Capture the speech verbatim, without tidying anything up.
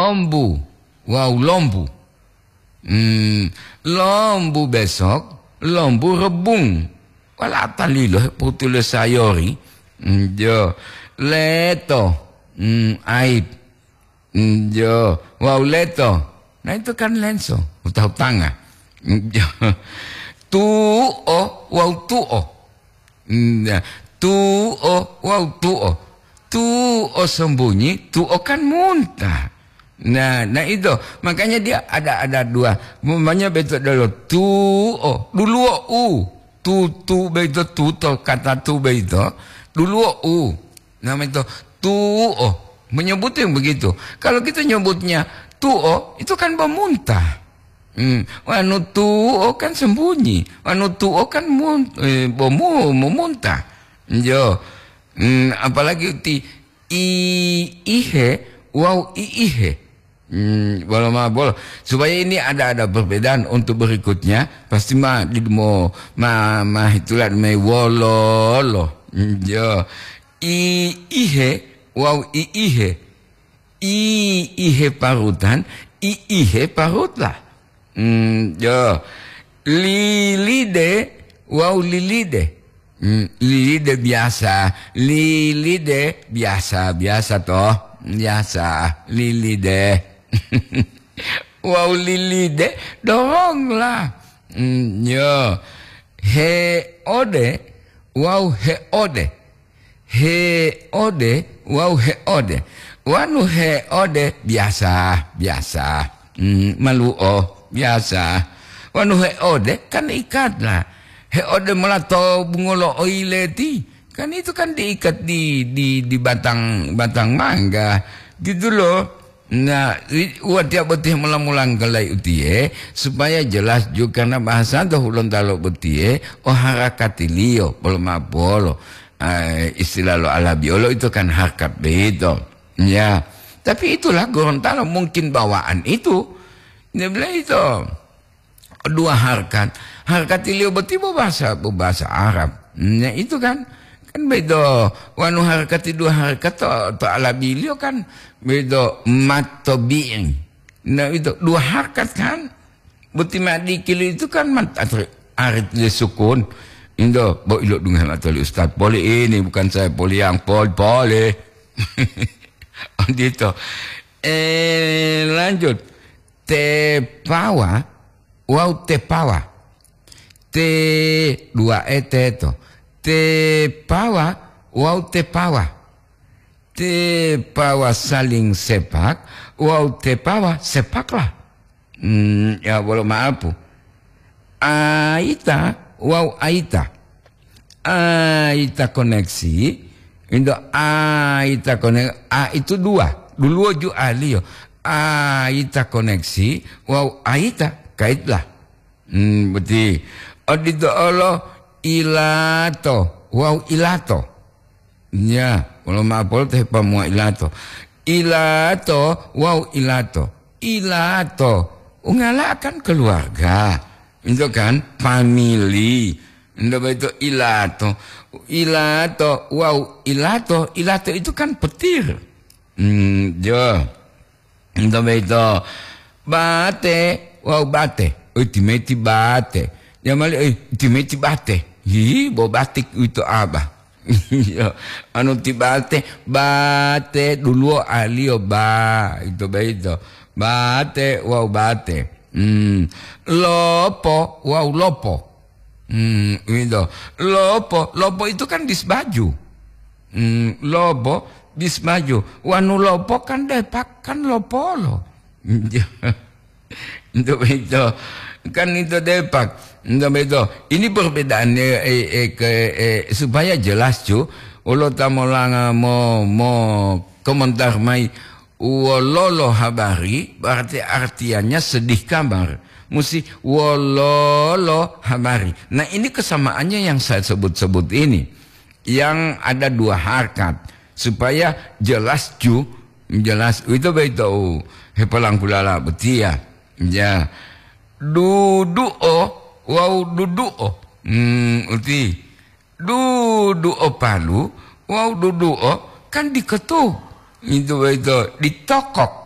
Lombu, wawu lombu. Hmm, lombu besok, lombu rebung. Wala talilo potulo sayori. Hmm, jo. Leto, hmm, aib. Hmm, jo. Wawu leto. Nah, itu kan lenso, utah-utanga. Hmm, jo. Tuo, wawu tuo. Nah, tuo wawu tuo. Tuo sembunyi, tuo kan muntah. Nah, nah itu. Makanya dia ada, ada dua. Umpamanya beto dulu tuo, duluo u. Tu, tu beito, tu to, kata tu beito. Duluo u. Namanya itu tuo. Menyebutnya begitu. Kalau kita nyebutnya tuo, itu kan memuntah. Hmm, wanu tuo kan sembunyi, wanu tuo kan mun-, eh, bomu memuntah. Jo. Hmm, apalagi ti i ihe wawu i ihe. Hmm, bolo ma bolo. Supaya ini ada, ada perbedaan untuk berikutnya, pasti ma di mo ma, ma hitulat me wololo. Hmm, jo. I ihe wawu i ihe. I ihe parutan, i ihe parutlah. Hmm, jo. Lilide wawu lilide. Hmm, lilide biasa, lilide biasa, biasa toh. Biasa, lilide. Wawu lilide, doronglah. Hmm, jo. Heode wawu heode. Heode wawu heode. Wanu heode biasa, biasa. Hmm, maluo, biasa. Wanu heode kan ikatlah. Heode mola to bungolo oileti. Kan itu kan diikat di, di, di batang, batang mangga. Gitu loh. Nah, ri-, watiya boti mula-mula nggalai utiye, supaya jelas juga karena bahasa to Hulontalo botiye, o harakatiliyo, bolo mapolo. Eh, istilah lo Alabiolo itu kan harkat begitu. Ya, tapi itulah Gorontalo mungkin bawaan itu. Dia bilang itu. Dua harkat. Harkatiliyo boti bo bahasa, bo bahasa Arab. Nah, itu kan. Kan bedo, wanu harkati dua harkat to, to Alabiliyo kan bedo mat tobi'i. Nah, itu dua harkat kan. Boti madikili itu kan mat atri-, arit le sukun. Indo, bo ilo dunga matoli Ustaz. Poli ini bukan saya poli yang pol-, poli. Gitu. Eh, lanjut. Tepawa wawu tepawa. Te dua e teto. Tepawa wawu tepawa. Tepawa saling sepak wawu tepawa sepaklah. Hmm, ya, bolo maapu. Aita wawu aita. Aita koneksi, indo aita koneksi, a itu dua, duluwo ju aliyo. Aita koneksi wawu aita kaitlah. Hmm, boti. Odito olo ilato wawu ilato. Ya, wolo ma'o poloto hepamuwa ilato. Ilato wawu ilato. Ilato, ungala kan keluarga. Itu kan famili. Ndo boyito ilato. Ilato wawu ilato, ilato itu kan petir. Hmm, jo. Ento boyito bate wawu bate. Uti meti bate. Jamali, eh, uti meti bate. Hi, bo batik uwito aba. Iya, anu ti bate, bate duluwo aliyo ba, ito boyito. Bate wawu bate. Hmm. Lopo wawu lopo. Hmm, uwito. Lopo, lopo itu kan bis baju. Hmm, lopo bis baju. Wanu lopo kan depak kan lopolo. Ito boyito. Kan ito depak. Ito boyito. Ini perbedaannya, eh, eh, ke, eh, supaya jelas, cu. Wolo ta molanga mo, mo komentar mayi, wololo habari, berarti artiannya sedih kabar. Musti wololo habari. Nah, ini kesamaannya yang saya sebut-sebut ini. Yang ada dua harkat. Supaya jelas, cu. Jelas. Ito boyito u hepolangkulala botiya. Ya. Duduo wawu duduo. Hmm, uti. Duduo palu wawu duduo kan diketu. Ito boyito ditokok.